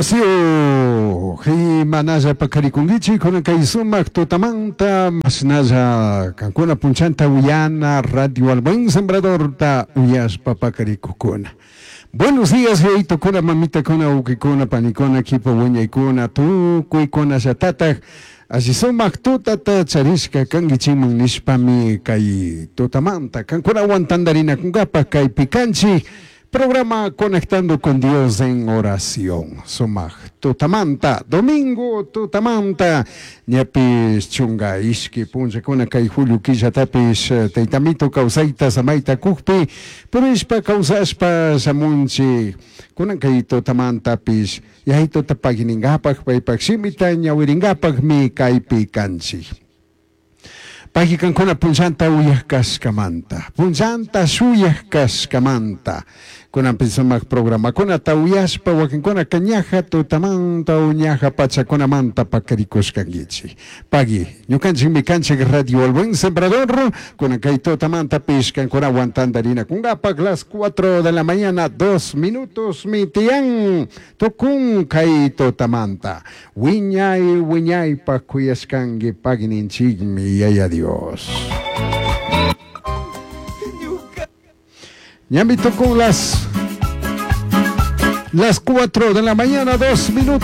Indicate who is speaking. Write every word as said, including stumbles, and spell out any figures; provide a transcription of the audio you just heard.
Speaker 1: Wasiyuq imanalla paqarikunkichik kunan kay sumaq tutamanta mashnalla kankuna punchanta uyana Radio El Buen Sembradorta uyashpa paqarikukuna. Buenos días, yayitukuna, mamitakuna, wawqikuna, panikuna, kipa wiñaykuna, tukuykunallatataj alli sumaq tutata charishka kankichikman nishpami kay tutamanta kankunawan tantarinakunkapaq kaypi kanchik programa Conectando con Dios en Oración. Sumaq tutamanta, domingo tutamanta, ñapis chunga ishki punllakuna kay julio killatapis taytamito kawsayta samayta kukpi purishpa kawsashpa shamunchik kunan kay tutamantapis yayituta pagui paypak shimita ñawirinkapakmi kaypi kanchik. Pagui kankuna punllanta uyaj kashkamanta, punllanta shuyaj kashkamanta, kunanpi sumaq programakunata uyashpa wakinkunaka ñaja tutamanta o ñaja pachakunamanta pakarikushkankichik. Pagui, ñukanchikmi kanchik Radio El Buen Sembrador, kunan kay tutamantapish kankunawan tantarinakunkapak las cuatro de la mañana, dos minutos mi tiyan, tukun kay tutamanta. Wiñay, wiñaypak kuyashkanki pagui ninchikmi yaya Dios. Ñami tukun las, las cuatro de la mañana, dos minutos.